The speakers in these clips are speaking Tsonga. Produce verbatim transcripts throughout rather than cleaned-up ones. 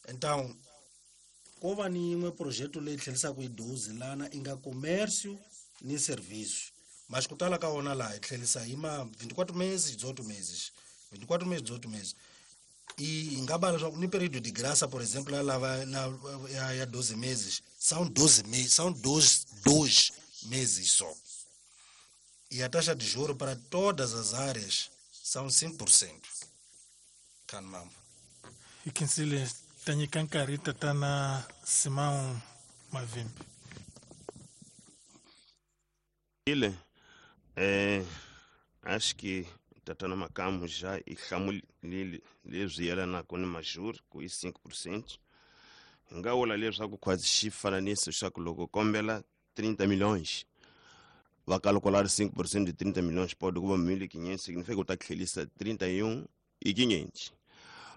Então ko va ni yin'we projeto leyi tlhelisaka hi doze lana i nga comércio ni serviço, mas ku tala ka wona laha hi tlhelisa hi ma vinte e quatro meses, dezoito meses, vinte e quatro meses, dezoito meses. E hi nga va leswaku ni período de graça, por exemplo, la lava na ya, ya doze meses, são doze meses, são dois, dois meses só. E a taxa de juro para todas as áreas são cinco por cento. Kanmambo. Hi khensile, ta nyika nkarhi tatana Simão Mavimbi. Ile eh acho que tatana Makamu já i hlamulile leswi yelanaka ni majuri ku i cinco por cento. Hi nga vula leswaku khwazi xifananiso xa ku loko kombela trinta milhões, va calcular cinco por cento de trinta milhões pode kuva mil e quinhentos, significa u ta tlhelisa trinta e um e quinhentos.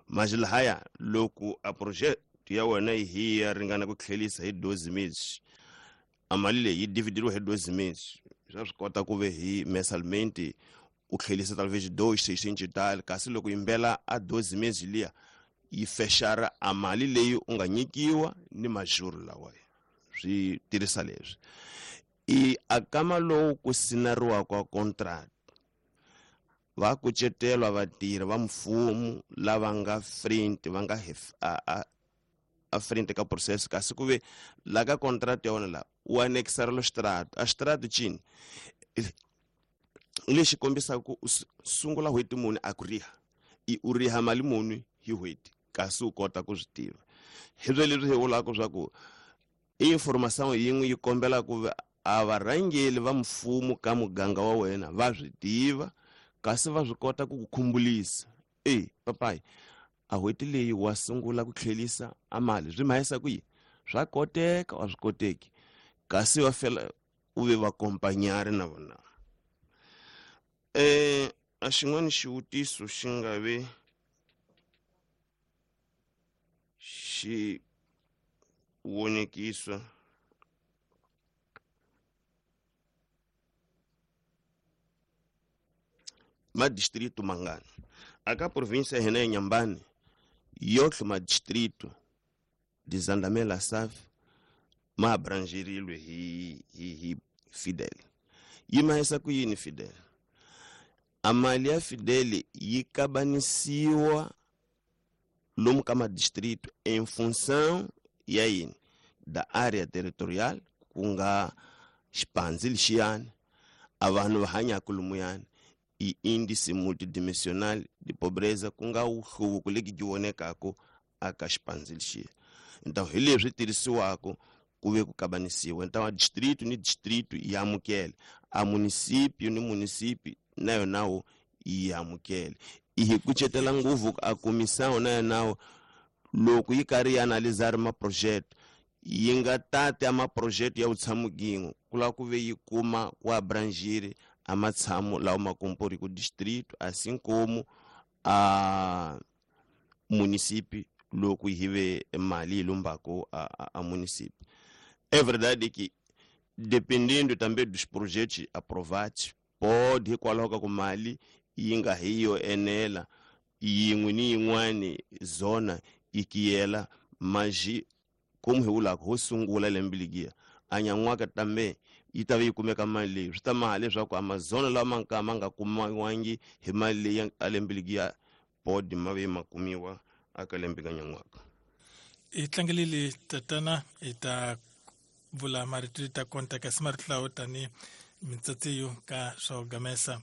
Mas lahaya loko a projeto ya wena hi ya ringana ku tlhelisa hi doze meses, a mali leyi yi dividiwa hi doze meses, swa swi kota ku ve hi mensalmente u tlhelisa talvez dois seiscentos e tal. Kasi loko yimbela a doze meses liya yi fexara a mali leyi u nga nyikiwa ni majuru lawa swi tirhisa leswi i akama lowu ku sinariwaka contract, va kucetelwa vatirhi va mfumo lava nga frente, va nga a, a, a frente ka processo. Kasi ku ve la ka contract ya wona la u anexarelo extrato, a extrato cini lexi kombisaka ku u sungula n'hweti muni a ku riha i u riha mali muni hi n'hweti, kasi u kota ku swi tiva. Hi swo leswi hi vulaka swa ku i information yin'we yi kombela ku a varhangeli va mfumo ka muganga wa wena va swi tiva, kasi va swi kota ku ku khumbulisa e papayi a n'hweti leyi wa sungula ku tlhelisa a mali, swi mahisa ku yini, swa koteka a swi koteki, kasi va fela u ve vakompanyari na vona. eh a xin'wana xivutiso xi nga ve xi vonekisa madistrito mangani aka província ya hina ya Nyambani? Yotlhe madistrito de Zandamela SAF ma abrangerilwe hi, hi, hi Fidel. Yi mahisa ku yini Fidel? A mali ya Fidel yi kabanisiwa lomu ka madistrito em função ya yini? Da área territorial, ku nga xipandzi lexiyani a vanhu va hanyaka lomuyani, i índice multidimensional de pobreza, ku nga wuhluvuko leki byi vonekaka aka xipandzi lexiya. Então hi leswi tirhisiwaka ku ve ku kabanisiwa. Então a distrito ni distrito yi amukele, a município ni município na yonawo yi amukele. I hi kucetela ngopfu a comissão na yonawo loko yi karhi yi analisar maprojeto, yi nga tati a maprojeto ya vutshamo gin'we, ku lava ku ve yi kuma ku abrangir a matshamo lawa ma compor ku distrito, assim como a município loko hi ve mali yi lombako a, a, a município. É verdade que dependendo também dos projetos aprovados, pode hikwalaho ka ku mali yi nga hi yo enela yin'we ni yin'wani zona yi kiyela maji como hi vulaka ho sungula lembe legiya a nyan'waka tambe yi ta va yi kumeka mali leyi, swi ta maha leswaku a mazona lawa ma nga ma nga kumiwangi hi mali leyi a lembe legiya pode ma ve ma kumiwa aka lembe ka nyan'waka. Hi tlangelile tatana, hi ta vula marito ta konta kasi marito lawo tani mitsatsiyo ka swa gamesa.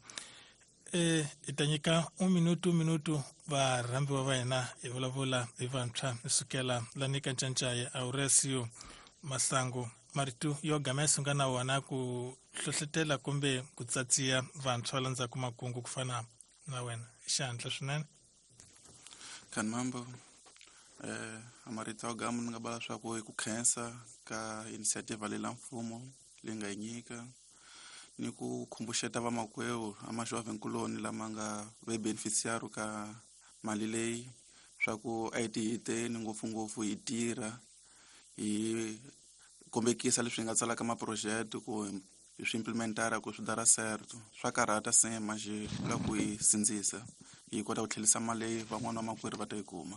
E hi ta nyika un minutu minutu varhambiwa va hina hi vulavula hi vantshwa sukela lani ka Ncancaye Auresio Masangu, marito yo gamesa nga na wona ku hlohletela kumbe ku tsatsiya vantshwa landzhaku makungu ku fana na wena, xihatla swinene. Kanmambo, eh amarito ya gama ni nga bala swa ku i ku khensa ka initiative leyi la mfumo leyi nga yi nyika ni ku khumbuxeta vamakwewu a majovhenkuloni lama nga ve beneficiary ka mali leyi swa ku a hi tihiteni ngopfungopfu, hi tirha, hi kombekisa leswi hi nga tsalaka maproject ku hi swi implementara ku swi dara certo. Swa karhata se manje la ku hi sindzisa hi kota ku tlhelisa mali leyi van'wana va makwerhu va ta yi kuma.